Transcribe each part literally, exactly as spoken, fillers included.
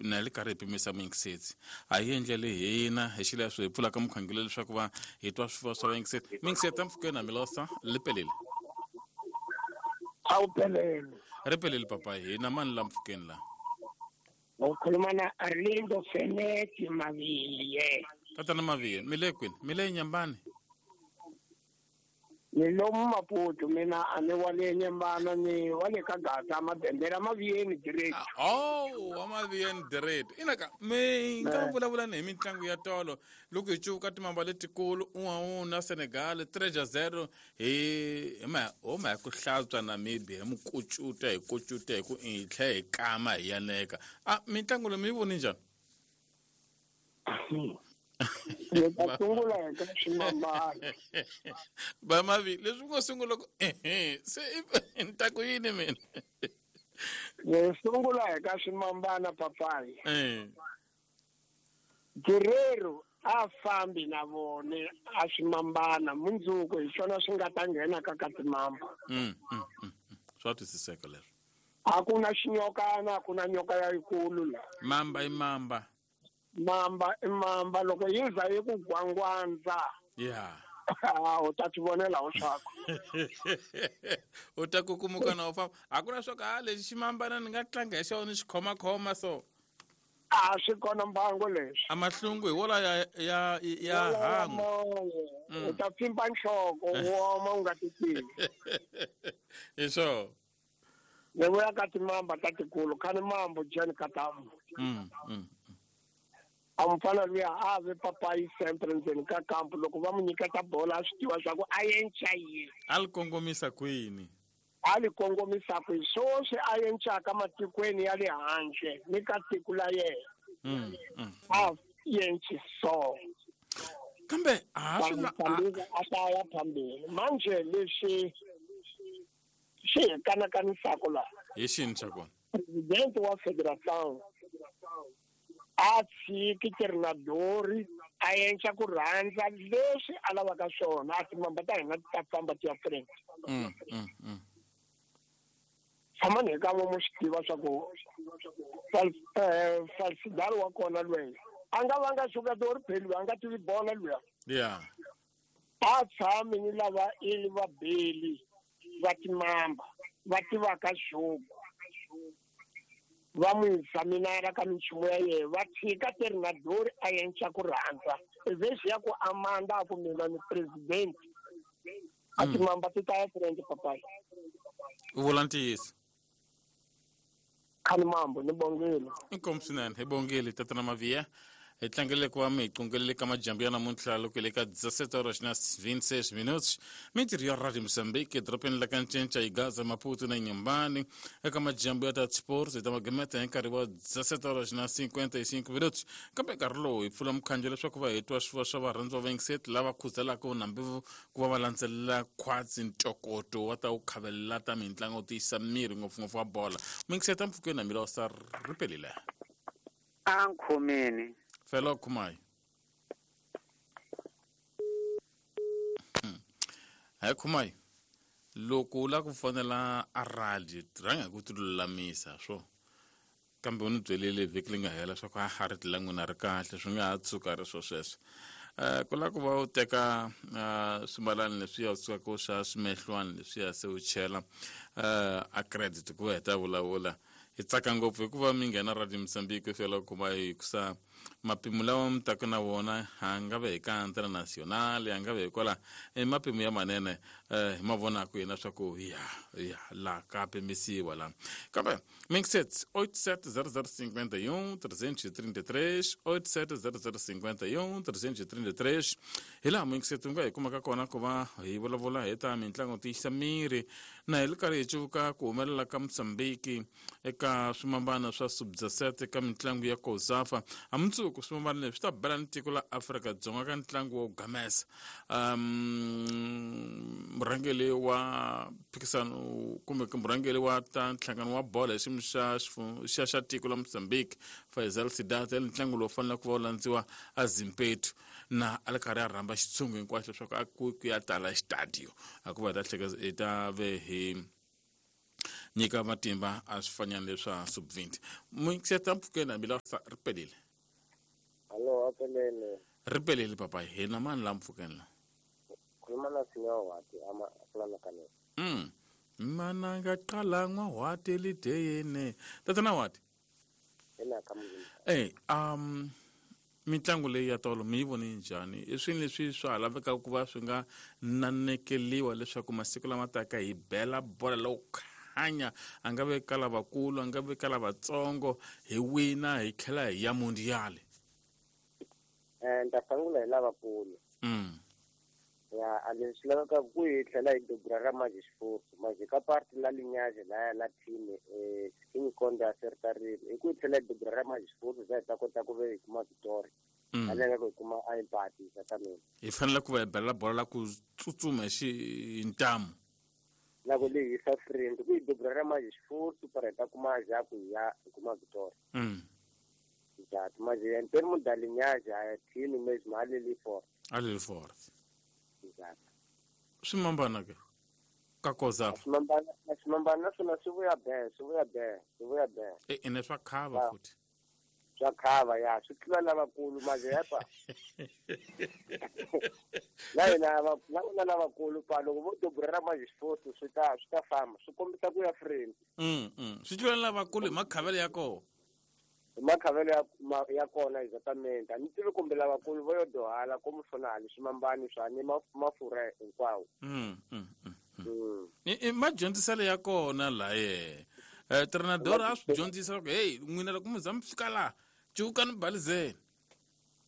na le karhi hi pimisa muyingiseti a hi endlele hina hi xileswo hi pfulaka mukhangelo leswaku va hi twa swifuwo swa vayingiseti muyingiseti mpfukeni hamilosa li pelile a wu pelele ri pelele papa hina mani la mpfukeni la ukhuluma na Arlindo Feneti Maviye. Tatana Maviye, mi le kwini? Mi le Nyambani? Ni lomu Maputo, mina a ni wa le Nyambana, ni wa le ka Gaza, Madendela, Maviyeni direct. Oh, wa Maviyeni direct. Ina ka mi nga vulavula ni hi mitlangu ya tolo loko hi cuvuka timamba letikulu un'wana na Senegal three zero hi hi ma ho ma ku hlantswa Namibia hi mukucuta hi kucuta hi ku hi tlhe hi kama hi yaneka. Ah, mitlangu leyi mi yi voni njhani? Ni ta sungula hi ka ximambana. Ba Mavi, leswi ngo sungula ku ehe se ni ta ku yini mina? Ni sungula hi ka ximambana papayi. Eh. Guerrero a fambi na vone a ximambana mundzuku hi xona swi nga ta nghena ka ka timamba. Mm, mm, mm. Swa twisiseka leswo. A ku na xinyokana, a ku na nyoka ya yikulu la. Mamba i mamba. Mamba i mamba loko yi za yi ku gwangwandza. Yeah. U ta tivonela ho swaku. U ta kukumuka na u famba. A ku na swo ka lexi ximambana ni nga tlanga hi xona ni xi khomakhoma so. A swi kona mbango leswi. A mahlungu hi wola ya ya ya hangu. U ta pfimba nhloko u oma u nga ti tivi. Hi swo. Ni vuya ka timamba ta tikulu khani mambo Jen Katamu. Mm, mm. A mufana luya a ve papayi sempre ndzeni ka kampu loko va mu nyiketa bola a swi tiva swa ku a yenca yini. A li kongomisa kwini? A li kongomisa kwini? Swoswi a yencaka matikweni ya le handle ni ka tiko la yena. Mm, mm. A yenci so. Kambe a swi na a ta ya phambili. Manje leswi swi hi kanakanisaka la. Hi xini xa kona? President wa Federation a tshiki Ternadori a yenca ku rhandza leswi a lavaka swona a timamba ta hina ti ta famba ti ya front. Mm, mm, mm. Tshama ni hi ka vomu swi tiva swa ku Falsidaro wa kona lweyi a nga vanga jogador pheli a nga tivi bola luya. Yeah. A tshami ni lava ili va beli va timamba va tivaka jogo. Va n'wi examinara ka minchumu ya yena va tshika Ternadori a yenca ku rhandza vhesi ya ku amanda a ku mina ni president a timamba ti ta ya front papayi. U vula ntiyiso. Khani mambo ni bongile. Inkomu swinene hi bongile tatana Maviya. Hi tlangele ku va mi hi qungelele ka majambu ya namuntlha loko hi le ka dezessete horas na vinte e seis minutos. Mintirho ya Radio Moçambique edorobeni la ka Ncinca hi Gaza, Maputo na Inhambane eka majambu ya ta sports hi ta magemeta hi nkarhi wa dezessete horas na cinquenta e cinco minutos. Kambe nkarhi lowu hi pfula mukhanjo leswaku va hi twa swifuwo swa varhandzi va vayingiseti lava khuzelaka nambi ku va va landzelela khwatsi ntokoto wa ta wu khavelela ta mitlangu tiyisa miri ngopfungopfu wa bola. Muyingiseti mpfukeni na Milosa ri pelile. A nkhomeni. Fellow Kumai. Hi Kumai. Loko u lava ku fonela a radio rhanga hi ku ti lulamisa swo. Kambe u ni byelile vhiki leyi nga hela swa ku a ha ri la n'wina ri kahle swi nga ha tshuka ri swo sweswo. Eh ku lava ku va u teka swimbalani leswiya u sukaka u xa swimehlwani leswiya se u chela a credit ku va hi ta vulavula. Hi tsaka ngopfu hikuva mi nghena Radio Moçambique Fellow Kumai hikusa mapimo lawa mi taka na wona a nga ve hi ka international a nga ve hi kwala i mapimo ya manene hi ma vonaka yena swa ku ya ya la ka pimisiwa la. Kambe mixet oito sete zero zero cinquenta e um trezentos e trinta e três oito sete zero zero cinquenta e um trezentos e trinta e três hi laha mixet u nga hi kumaka kona ku va hi vulavula hi ta mitlangu tiyisa miri na hi ri karhi hi cuvuka ku humelela ka Moçambique eka swimambana swa sub dezessete ka mitlangu ya COSAFA. A mundzuku swimambana leswi swi ta bela ni tiko la Afrika-Dzonga ka ntlangu wo gamesa. Um murhangeri wa phikisano kumbe murhangeri wa ta nhlangano wa bola hi xiyimo xa xa xa tiko la Mozambique Faisal Sidat ntlangu lowu faneleke ku va wu landziwa a Zimpetu na a ri karhi a rhamba xitshungu hinkwaxo leswaku a ku ku ya tala xitadio a ku va hi ta hleketa hi ta ve hi nyika matimba a swifanyana leswa sub twenty mixeta mpfukeni hambi la ri pelile. Hallo, apelele. Ri pelile papa hina mani la mpfukeni la khuluma na Sinyawati ama kulana kane. Mm. Mana ngaqala ngwawati lideyene. Tatana wati. Ena kamuzini. Eh, um mitlangu leyi ya tolo mi yi vone njhani? I swilo leswi swa ha lavekaka ku va swi nga nanekeliwa leswaku masiku lama taka hi bela bola lowo khanya a nga ve ka lavakulu a nga ve ka lavatsongo hi wina hi tlhela hi ya mundial. Eh nta sungula hi lavakulu. Mm. Ya a leswi lavekaka ku hi tlhela hi dubura ra manje xifufu manje ka parti la linyaje la la team eh King Konde a sertarile hi ku hi tlhela hi dubura ra manje xifufu za hi ta kota ku ve hi kuma victory aleka ku hi kuma a empati ta mina. Hi fanele ku va hi bela bola la ku tsutsuma hi ntamu la ku lehisa friend ku hi dubura ra manje xifufu para hi ta kuma ja ku ya hi kuma victory. Mm. Exact manje en termo da linyaje a team mesmo a leli forte. A leli forte. Exact. Swimambana ke ka koza. Swimambana swimambana swona swi vuya be swi vuya be swi vuya be. E ene swa khava futhi. Swa khava ya swi tlula lavakulu manje yapa. La hina va la lavakulu pa loko vo dubura ra manje xifufu swi ta swi ta famba swi kombisa ku ya friend. Mm mm. Swi tlula lavakulu hi makhavelo ya kona. Makhavelo ya ya kona exactamente. A ni tivi kumbe lavakulu vo yo dohala ku mufuna swimambani swa ni mafurha hinkwawo. Mm mm mm. I madyondziselo ya kona la ye. Eh trenador a swi dyondzisa ku hey n'wina loko mi za mi fika la cukani balizeni.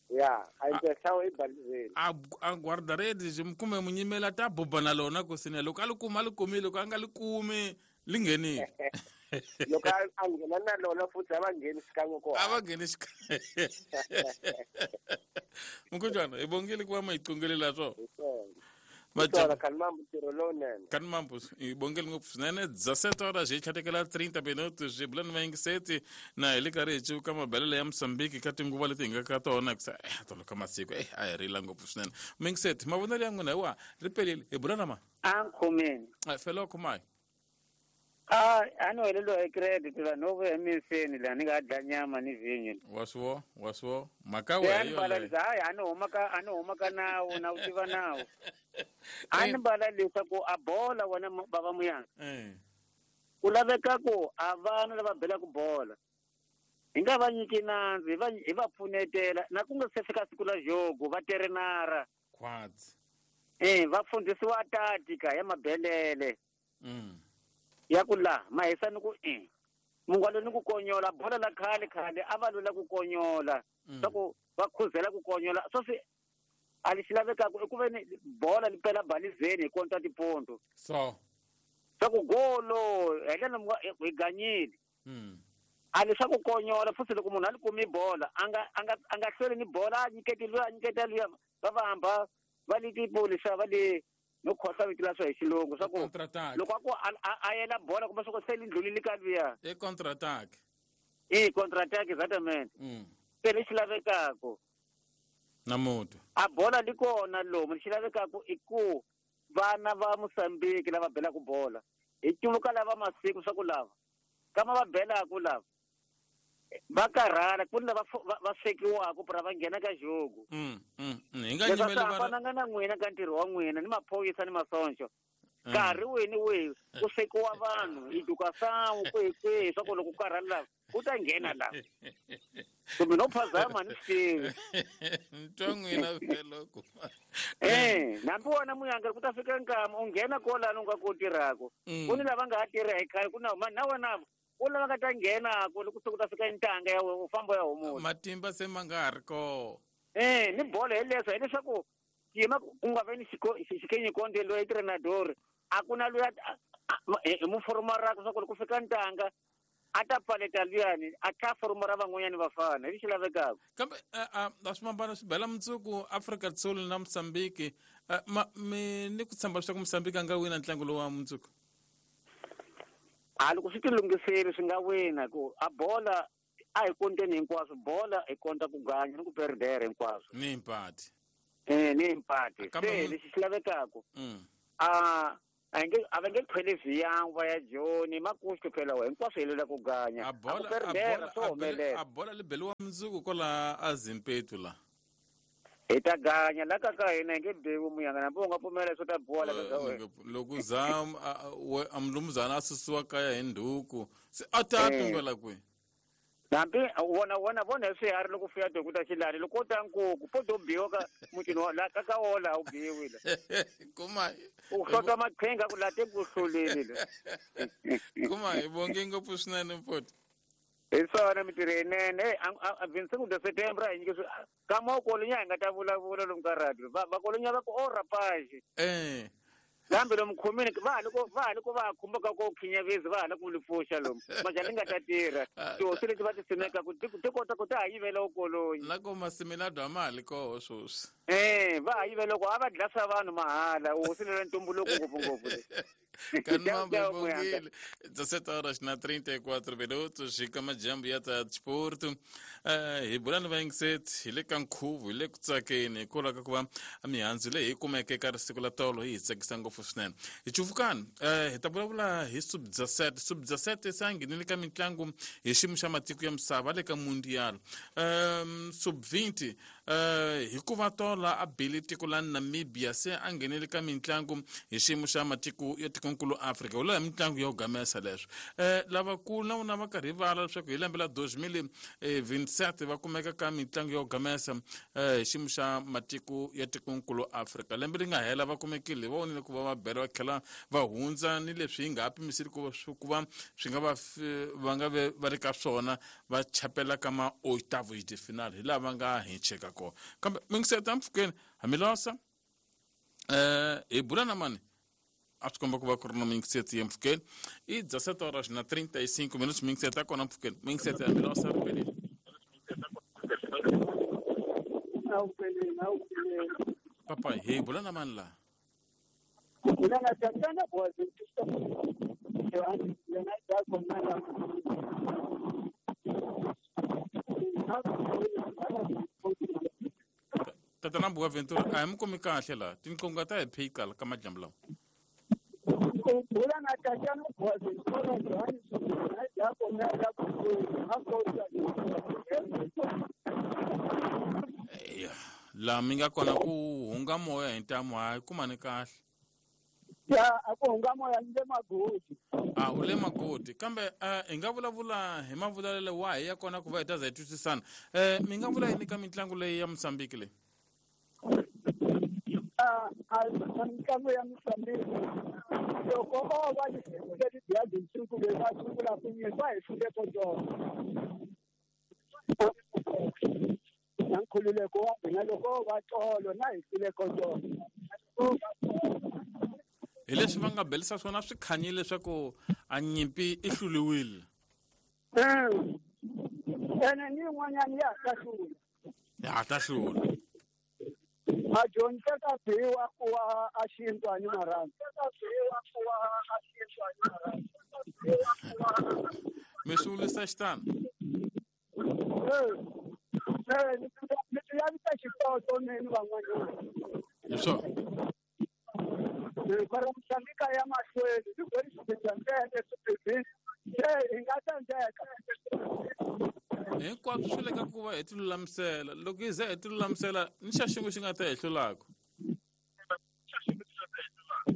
Ya, a intenção i balizeni. A a guarda-redes mi kume munyimela ta buba na lona ku sine loko a li kuma li kumile loko a nga li kumi li nghenile. Loko a nghena na lona futhi a va ngheni xikan'we kona. A va ngheni xikan'we. Mukujana hi bongile ku va ma hi qongelela swo. Matsala kan mambo ntirho lowunene. Kan mambo hi bongile ngopfu swinene dezessete horas hi tlhatekela trinta minutos hi bulani vayingiseti na hi le karhi hi civuka mabelelo ya Mozambique ka tinguva leti hi nga ka tona ku eh tolo ka masiku eh a hi rila ngopfu swinene. Muyingiseti mavonelo ya n'wina hi wa ri pelile hi bula na ma. A nkhomeni. Felo khumayi. Ah, ano helelo hi credit vanhu vo emiseni la ni nga dla nyama ni vinyo. Waswo, waswo, mhaka we yo. Hayi ano huma ka ano huma ka nawu na u tiva nawu. A ni bala leswaku a bola wena baba muyanga. Eh. Ku laveka ku a vana lava belaka bola. Hi nga va nyiki nandzu, hi va hi va pfunetela na ku nga se fika siku la jogo va terenara. Quads. Eh, va fundisiwa tatika ya mabelele. Mm. Ya ku la mahisa ni ku i mungwalo ni ku konyola bola la khale khale a va lwela ku konyola swa ku va khuzela ku konyola swo swi a lexi lavekaka i ku ve ni bola li pela balizeni hi konta tiponto so swa ku golo hi ndlela hi ganyile a leswa ku konyola futhi loko munhu a li kumi bola a nga a nga a nga hlweli ni bola a nyiketi luya a nyiketa luya va va hamba va li tipulisa va li no khosa vito la swa hi xilungu swa ku loko a ku a yela bola kumbe swa ku se li ndlulile ka luya i contre attack i contre attack exactamente se lexi lavekaka na mutu a bola li kona lomu lexi lavekaka i ku vana va Mozambique lava belaka bola hi cuvuka lava masiku swa ku lava kama va belaka lava va karhala ku ni lava va swekiwaka pra va nghena ka jogo. Mm mm hi nga nyimeli va hambananga na n'wina ka ntirho wa n'wina ni maphorisa ni masoncho nkarhi wihi ni wihi ku swekiwa vanhu hi educação kwihi kwihi swa ku loko ku karhala lava ku ta nghena lava kumbe no phazama ni swi tivi ntwa n'wina feloko eh nambi wona muyanga ku ta fika nkama u nghena kolani u nga ku tirhaka ku ni lava nga ha tirha hi khale ku na na wena u lava nga ta nghena ku loko se ku ta fika ntanga ya u famba ya humula matimba se ma nga ha ri kona eh ni bolo hi leswo hileswaku yima ku nga ve ni xikenyi konde loyi trenador a ku na luya hi muforomara swa ku loko ku fika ntanga a ta pfaleta luyani a tlha foromara van'wanyani vafana hi lexi lavekaka kambe a swimambano swi bela mundzuku Afrika Sul na Mozambique mi ni ku tshemba leswaku Mozambique a nga wina ntlangu lowu wa mundzuku a loko swi ti lunghisile swi nga wina ku a bola a hi konteni hinkwaswo bola hi konta ku ganya ni ku perdere hinkwaswo ni impati eh ni impati se lexi xi lavekaka a A nge a va nge khweli viyang va ya Joni makuxu phela wa hinkwaswo hi lela ku ganya. A bola A ku swo humelela. a bola li beliwa mundzuku kwala a Zimpetu la. Hi ta ganya la ka ka hina hi nge biwi muyanga na u nga pfumela swo ta bola ka ka wena. Loko za a mulumuzana a susiwa kaya hi ndhuku se a ta tumbela kwihi? Hambi wona wona vona hi swiharhi loko fuya tihuku ta xilani loko ko ta nkuku po to biwa ka mutini wa la ka ka wola a wu biwi la. Kuma U hlota maqhinga ku la te ku hluleni la. Kuma hi vonge ngopfu swinene mfoti. Hi swona mintirho yinene. Hey, a vinhanu de setembro hi nyike ka mokolonya hi nga ta vulavula lomu ka radio. Va vakolonya va ku o rapage. Eh. Kambe lomu khomini va ha loko va ha loko va khumba ka ku khinyavezi va ha la ku li pfuxa lomu. Majani nga ta tirha. Tihosi leti va ti simeka ku ti kota ku ta ha yivela ukolonyi. La ko masimilado a ma ha li koho sweswi. Eh, va ha yivela ku a va dlasa vanhu mahala. Hosi leyi ntumbuluko ngopfu ngopfu le. Kanmamba bongile. dezessete horas na trinta e quatro minutos e kama jambo ya ta desporto. Eh, hi bula ni vayingiseti hi le ka nkhuvo hi le ku tsakeni hikwalaho ka ku va mihandzu leyi hi kumeke eka risiku la tolo yi hi tsakisa ngopfu swinene. Hi cuvukani eh hi ta vulavula hi sub dezessete. Sub dezessete se a nghenile ka mitlangu hi xiyimo xa matiko ya misava le ka mundial. Um sub vinte eh hikuva tola a bile tiko la Namibia se a nghenile ka mitlangu hi xiyimo xa matiko ya tikonkulu Afrika. Wula mitlangu ya ku gamesa leswo. Eh lavakulu na vona va karhi va leswaku hi lembe la dois mil e vinte e sete va kumeka ka mitlangu ya ku gamesa eh hi xiyimo xa matiko ya tikonkulu Afrika. Lembe ri nga hela va kumekile va vonile ku va va bela va tlhela va hundza ni leswi hi nga ha pimiseli ku ku va swi nga va va nga ve va ri ka swona va chapela ka ma oitavos de final hi laha va nga hincheka kona. Kambe mingiseta mpfhukeni hamilosa eh hi bula na mani a swi komba ku va ku ri na mingiseti ya mpfhukeni i dezessete horas na trinta e cinco minutos mingiseti ya kona mpfhukeni mingiseti ya milosa ri pelile. Papa hi bula na mani laha? Tatana Boaventura a hi mi kumi kahle laha tinqingho ta hi phika ka madyambu lawa. Laha mi nga kona ku hunga moya hi ntamu hayi kumani kahle. Ya a ku hunga moya ni le magodi. A u le magodi kambe hi nga vulavula hi mavulavulelo wahi ya kona ku va hi ta za hi twisisana. Eh mi nga vula yini ka mitlangu leyi ya Mozambique leyi? A a mitlangu ya Mozambique loko o va yi hlule tinsuku leyi va sungula ku nyika hi hlule ko tona. Na nkhululeko wa hina loko va tolo na hi hlule ko tona. Hi leswi va nga belisa swona swi khanyile leswaku a nyimpi i hluliwile. Ene ni yin'wanyana ya ha ta hlula. Ya ha ta hlula. A dyondze ka biwa ku wa a xintwani marhandzu. Mi swi vulisa xitano? Eh, ni ti lavisa xitoto ni van'wanyana. Hi swona. Mara Mozambique ya mahlweni ni ku ri xibedhlele swibedhlele se hi nga tsandzeka. Hinkwaswo swi le ka ku va hi ti lulamisela loko hi ze hi ti lulamisela ni xa xin'we xi nga ta hi hlulaka.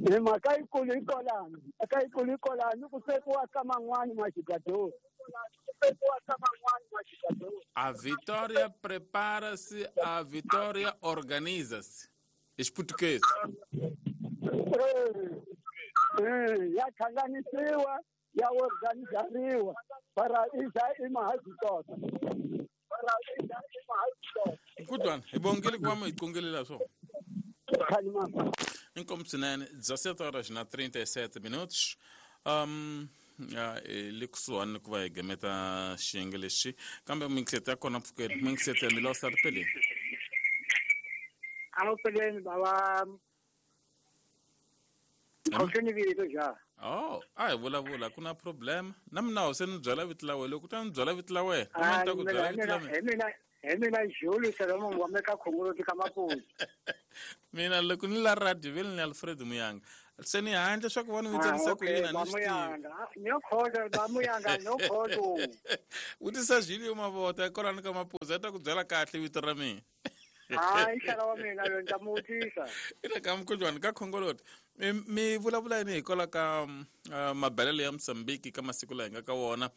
Hi mhaka yikulu yi kolani mhaka yikulu yi kolani ku swekiwa ka man'wani maxigadori. A vitória prepara-se, a vitória organiza-se. Hi xiputukezi. Ya hlanganisiwa ya organizariwa para iza imahazitota. Kutwana hi bongile ku va mi hi qongelela swona. Inkomu swinene dezessete horas na trinta e sete minutos. Um ya le kusuhani ku va hi gameta xiyenge lexi kambe mingiseti ya kona mpfhukeni mingiseti ya milosa ri peleni. A peleni bava Khoseni vito ja. Oh, a hi vulavula ku na problem. Na mina ho se ni byela vito la wena loko u ta ni byela vito la wena, na mina ni ta ku byela vito la mina. Hi mina Hi mina Jules Solomon wa me ka Khongoloti ka Maputo. Mina loko ni la radio vele ni Alfred Muyanga. Se ni handle swa ku vona mi tsanisa ku yini a ni swi tivi. Ni khoto ba Muyanga no khoto. Vutisa Julio Mavota kwalano ka Maputo a ta ku byela kahle vito ra mina. Hayi xana wa mina lo ni ta mu vutisa. Ina ka mukhuhlwani ka Khongoloti. Mi mi vulavula yini hikwalaho ka uh, mabelelo ya Mozambique ka masiku laha hi nga ka wona.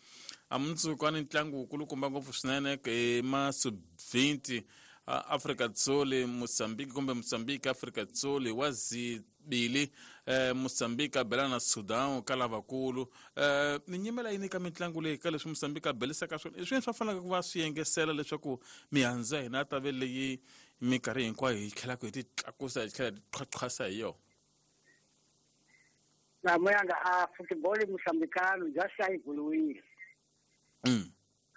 A mundzuku a ni ntlangu wukulukumba ngopfu swinene hi ma sub twenty Afrika Dzonga Mozambique kumbe Mozambique Afrika Dzonga wa zibili eh, Mozambique a bela na Sudan ka lavakulu. Eh, mi nyimela yini ka mitlangu leyi ka leswi Mozambique a belisaka swona? I swini swa faneleke ku va swi yengesela leswaku mihandzu ya hina ta ve leyi minkarhi hinkwayo hi tlhelaka hi ti tlakusa hi tlhela hi ti qhwaqhwasa hi yona? Na Muyanga a football mozambicano just a yi buluwile. Mm.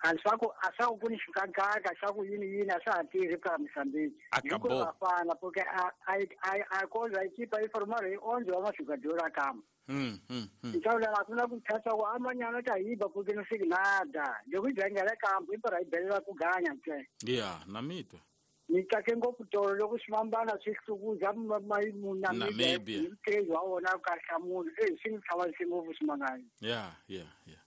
A swa ku a swa ku ni xikakaka swa ku yini yini a swa ha tirhi ka Mozambique. Acabou. Vafana porque a a a a koza equipa yi formar hi onze wa majogador a kama. Mm, mm, mm. Então la ku na ku thatha ku amanyana ta yiba porque no sei nada. Loko yi dzangela kampo i para yi belela ku ganya ntsena. Yeah, na mitwa. Ni tsake ngopfu tolo loko swifambana swi hlukuza Namibia. Hi wa wona ka hlamula. Eh swi ni tshama ngopfu swimangayo. Yeah, yeah, yeah.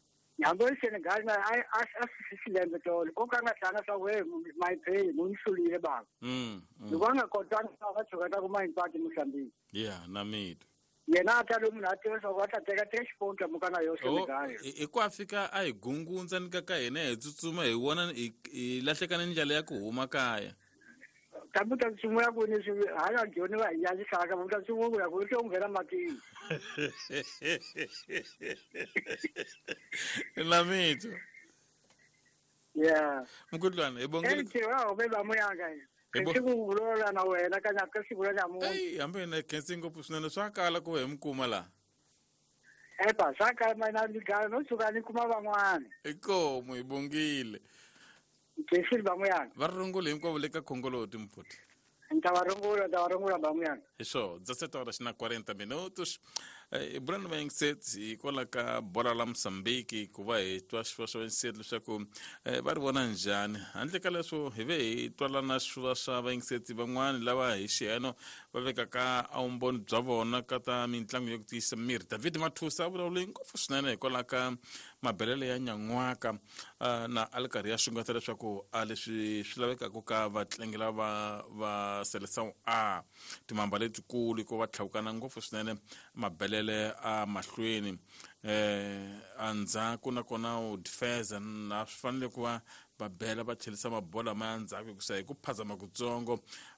Hambi Senegal na a a a swi tolo ko ka nga tlanga swa we my pay mo nhlulile baba. Mm. Ni vona kotanga va tshoka ta ku ma impati Mozambique. Yeah, na mitwa. Yena a ta lo munhu a tiva swa ku a ta teka teka xiponta mukana yo Senegal. I ku a fika a hi gungundza ni ka ka hina hi tsutsuma hi vona hi lahleka ni ndlela ya ku huma kaya. Kambe ta tsutsumela ku ni swi hala joni va hi yalisaka va ta tsutsuma ku ya ku to nghena matini. Na mitwa. Yeah. Mkhudlwana hi bongile. Eh wa be ba Muyanga. Ke ku vulavula na wena ka nyaka siku la nyamuntlha. Ey hambi na khensi ngopfu swinene swa kala ku hi mi kuma laha. Epa swa kala mina ni gala no tshuka ni kuma van'wana. Inkomu hi bongile. Khensi ba Muyanga. Va rungula hinkwavo le ka Khongoloti mfuti. Nta va rungula, nta va rungula ba Muyanga. Hi swo, dezessete horas na quarenta minutos. Eh, Brando Menset hikwalaho ka bola la Mozambique ku va hi twa swiva swa Menset leswaku eh, va ri vona njhani. Handle ka leswo hi ve hi twala na swiva swa Menset van'wani lava hi xiyeno va vekaka a vumbhoni bya vona ka ta mitlangu ya ku tiyisa miri. David Mathusa a vulavule ngopfu swinene hikwalaho ka mabelelo ya nyan'waka uh, na a li karhi ya xungeta leswaku a leswi swi lavekaka ka vatlangi lava va Seleção A timamba letikulu ku va tlhawukana ngopfu swinene mabelelo a mahlweni eh andzhaku nakona u defense na swi fanele ku va va bela va tlhelisa mabola ma ya ndzhaku hikusa hi ku phazama kutsongo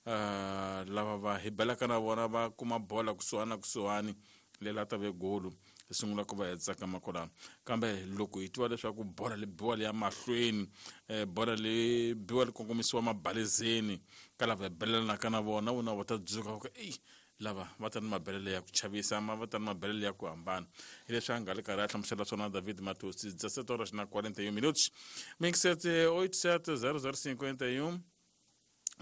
uh, lava va hi belaka na vona va kuma bola kusuhani na kusuhani lela ta ve golu hi sungula ku va hi tsakama kwalano. Kambe loko hi twa leswaku bola li biwa liya mahlweni eh, bola li biwa li kongomisiwa mabalezeni ka lava hi belelanaka na vona vona va ta dzuka va ku eyi lava va ta ni mabelelo ya ku chavisa ma va ta ni mabelelo ya ku hambana. Hi leswi a nga le karhi a hlamusela swona David Matosi. dezessete horas na quarenta e um minutos. Mix sete oito sete zero zero cinquenta e um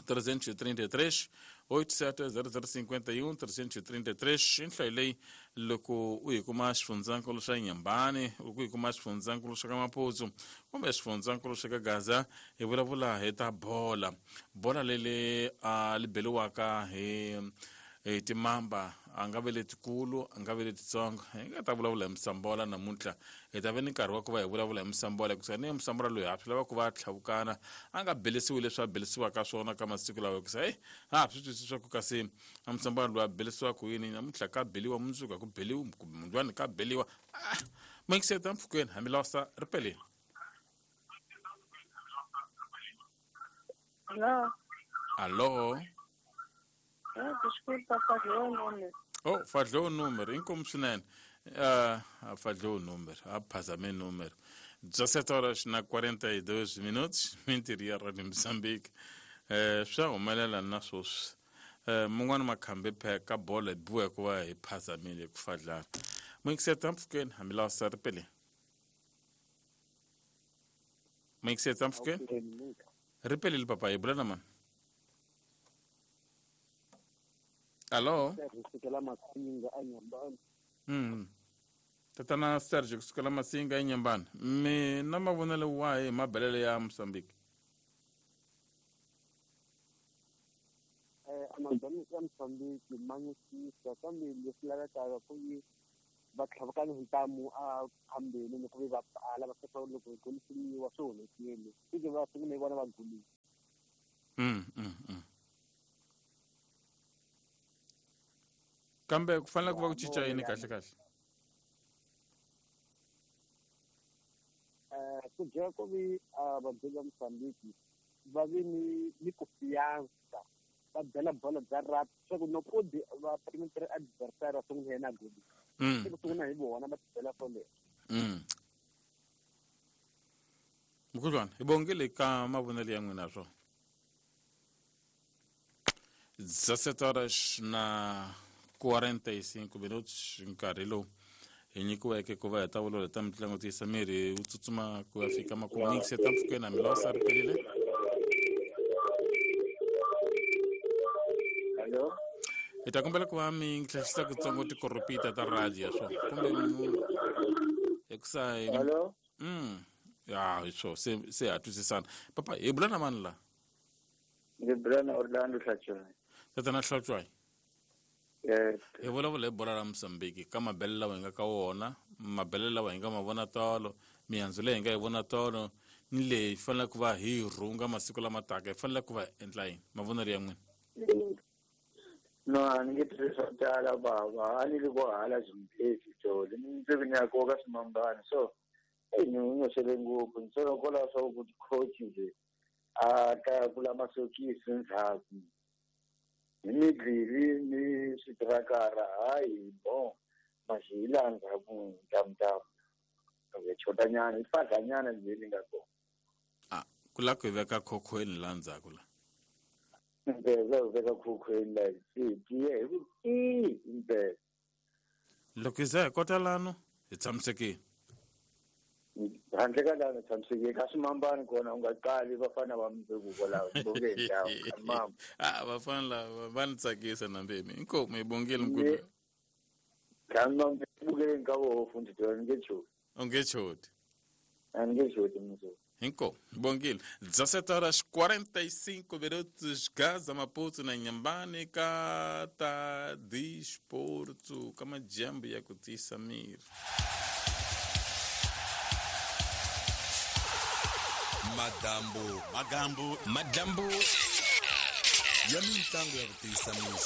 trezentos e trinta e três oito sete zero zero cinquenta e um trezentos e trinta e três. I nhlayo leyi loko u yi kuma xifundzankulu xa Nyambani, u yi kuma xifundzankulu xa ka Maputo kumbe xifundzankulu xa ka Gaza, hi vulavula hi ta bola. Bola leli a li beliwaka hi hi timamba a nga ve letikulu a nga ve letitsongo. Hi nga ta vulavula hi Musambola namuntlha. Hi ta ve ni nkarhi wa ku va hi vulavula hi Musambola hikusa ni Musambola loyi ha swi lava ku va tlhavukana a nga belisiwi leswi a belisiwaka swona ka masiku lawa hikusa eyi a ha swi twisisi swa ku kasi a Musambola loyi a belisiwaka yini namuntlha ka beliwa mundzuku a ku beliwi mundlwani ka beliwa. Ah, Mixeta mpfhukeni hambi losa ri peleni. Alô? Alô? Ah, desculpa, falhou o número. Oh, falhou o número. Inkomu swinene. Uh, falhou o número. Aphazame número. dezessete horas na quarenta e dois minutos. Mentiria Rádio Moçambique. Eh, swa humelela na sweswi. Eh, mun'wana makhambi pheka bola hi biwa ku va hi phazamile ku fadlana. Mixeta mpfhukeni hambi lawa sa ri peleni. Mixeta mpfhukeni. Ri pelile papa hi bula na mani? Alô? Kusukela Masinga eNyambani. Mm. Tatana Sergio kusukela Masinga eNyambani. Mi na mavonelo wahi hi mabelelo ya Mozambique? Ya Mozambique manyisisa kambe leswi lavekaka ku yi va tlhavukana hi ntamu a phambeni loko ve va pfala va fika loko goli swi swi onhekile swi va sungule hi vona va golile. Mm, mm, mm. Kambe ku fanele ku va ku cinca yini kahle kahle? Eh ku byela ku vi vabyeli va Mozambique va vi ni ni confianza va byela bolo bya rugby leswaku loko va perimeter adversaire va sungula yena goli. Mm. Ku sungula hi vona va byela swoleswo. Mm. Mkhulwana, hi bongile ka mavonelo ya n'wina swo. dezessete horas na quarenta e cinco minutos nkarhi lowu hi nyikiweke ku va hi ta vulavula ta mitlangu tiyisa miri wu tsutsuma ku ya fika makumu yingiseta mpfhukeni na milosa ri perile. Hello. Hi ta kombela ku va mi hlasisa kutsongo tikoropita ta radio swo kumbe hikusa hi Hello. mm ya hi swo se se ha twisisana. Papa hi bula na mani la? Ndzi bula na Orlando Hlatswayi. Tatana Hlatswayi. Eh hi vulavula hi bola ra Mozambique ka mabele lawa hi nga ka wona, mabele lawa hi nga ma vona tolo, mihandzu leyi hi nga yi vona tolo ni leyi hi faneleke ku va hi rhunga masiku lama taka, hi faneleke ku va hi endla yini? Mavonelo ya n'wina. No, a ni nge tirhisi swo tala bava, a ni ri ko hala Zimbabwe tolo, ni ndzi ni ya koka swimambana so eyi ni n'wi ngopfu ni solo kwalaho swa ku coach nje a ta kula masokisi ndzhaku hi midlili ni switirakara hayi bon maxi hi laha ndzhaku ntamutamu hi chotanyana hi fadlanyana leyi nga kona. A ku lava ku hi veka khokhweni laha ndzhaku la. Impela hi veka khokhweni la hi tiye hi ku tii impela. Loko hi za hi kota lano hi tshamisekile. Handle ka lana tshamisekile ka swimambani kona u nga qali vafana va mundzuku kwalaho bonge hi ndhawu mama. A vafana lava va ni tsakisa na mbemi. Inkomu hi bongile mkhulu. Tshama bukeleni ka voho fundi ni nge choti. U nge choti. A ni nge choti mundzuku. Inkomu bongile. dezessete horas quarenta e cinco minutos Gaza Maputo na Inhambane ka ta desporto ka majambo ya ku tiyisa miri. Madambu, magambu, madambu ya mitlangu ya ku tiyisa miri.